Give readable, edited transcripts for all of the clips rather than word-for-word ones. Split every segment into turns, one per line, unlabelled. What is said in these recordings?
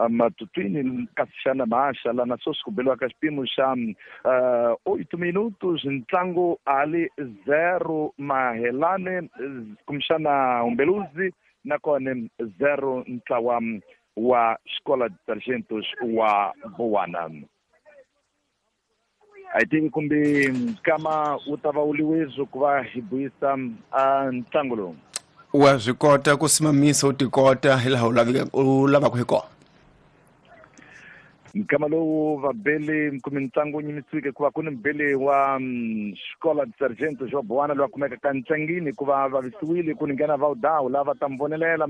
Matutuine kasi xana maxa lana sweswi ku beliwaka xipimo xa 8 minutos ntlangu ali 0 Mahelane kumbexana Umbeluzi nakona 0 ntlawa wa Escola de Sargentos wa Bowana. A hi tivi kumbe nkama wu ta va wu liwezo ku va hi buyisa a ntlangu lowu.
Wa swi kota ku simamisa u tikota hi laha u lavaka hi kona.
Nkama lowu vabeli kumbe ntlangu wu nyimisiwike hikuva ku ni mubeli wa Escola de Sargento wa Bowana loyi a kumeka ka ntlangini hikuva vavisiwile ku ni nghena Vawudawu lava ta mi vonelela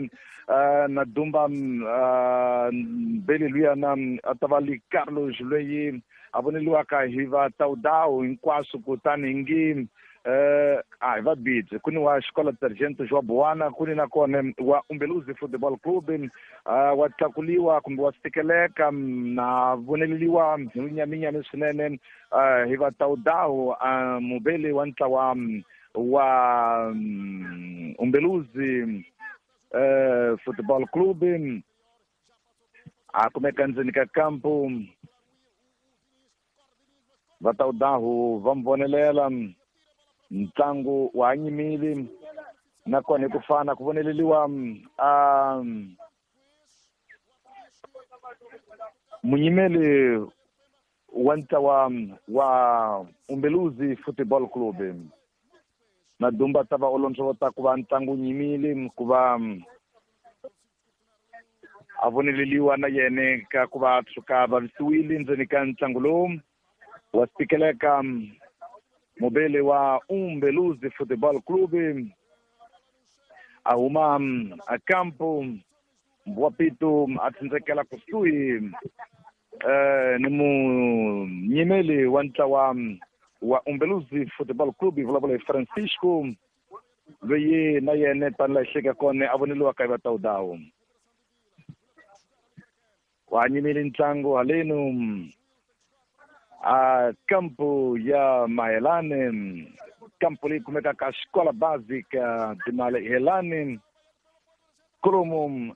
na Dumba mbeli luyana a ta va li Carlos loyi a voneliwaka hi va Tawudawu hinkwaswo kutani hi ngi a hi va bidzi ku ni wa Xikola Sargento wa Bowana ku ni nakona wa Umbeluzi Football Club wa tlakuliwa kumbe wa sikeleka na voneleliwa hi vunyaminyami swinene hi va Tawudawu mubeli wa ntlawa wa Umbeluzi Football Club a kumeka ndzeni ka kampu va Tawudawu va mi vonelela ntlangu wa ha nyimile nakona hi ku fana ku voneleliwa munyimeli wa ntlawa wa Umbeluzi Football Club na Dumba ta va olondzovota ku va ntlangu nyimile ku va a voneleliwa na yene ka ku va tshuka vavisiwile ndzeni ka ntlangu lowu wa sikeleka mubeli wa Umbeluzi Football Club a huma a kampu wa Pito a tsindzekela kusuhi ni munyimeli wa ntlawa wa Umbeluzi Football Club hi vulavula hi Francisco loyi na yena tani laha hleka kona a voneliwaka hi va Tawudawu wa nyimile ntlangu halenu a kampu ya Mahelane kampu leyi kumekaka Escola Básica de Mahelane kolomu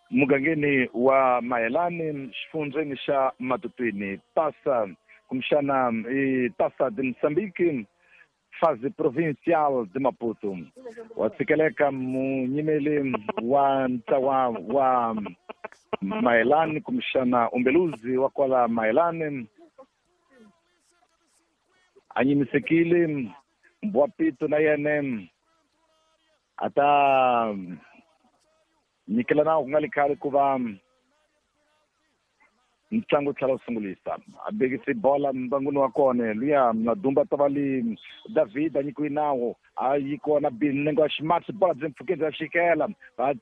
mugangeni wa Mahelane xifundzeni xa Matutuine tasa kumbexana i Taça de Moçambique fase provincial de Maputo wa tsikeleka munyimeli wa ntlawa wa Mahelane kumbexana Umbeluzi wa kwala Mahelane a nyimisekile wa Pito na yena a ta nyikela nawu ku nga li khale ku va ntlangu tlhela wu sungulisa a bekise bola mbanguni wa kona luya na Dumba ta va li David a nyikiwe nawu a yi kona nenge wa ximatsi bola byi mpfhukeni bya xikela va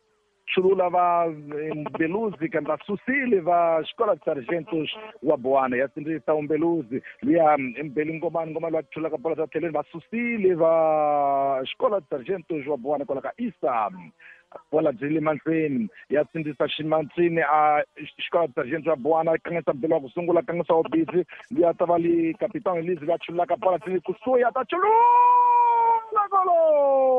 chulula va Umbeluzi kambe va susile va Escola de Sargentos wa Bowana ya sindzisa Umbeluzi luya Mbeli Ngomani Ngomani loyi a chulaka bola bya tlhelweni va susile va Escola de Sargentos wa Bowana kwala ka Isa bola byi le mahlweni ya sindzisa ximatsini a Escola de Sargentos wa Bowana kangisa mbeli wa ku sungula kangisa wa busy luya ta va li Capitão Elise loyi a chululaka bola byi le kusuhi a ta chulula golo.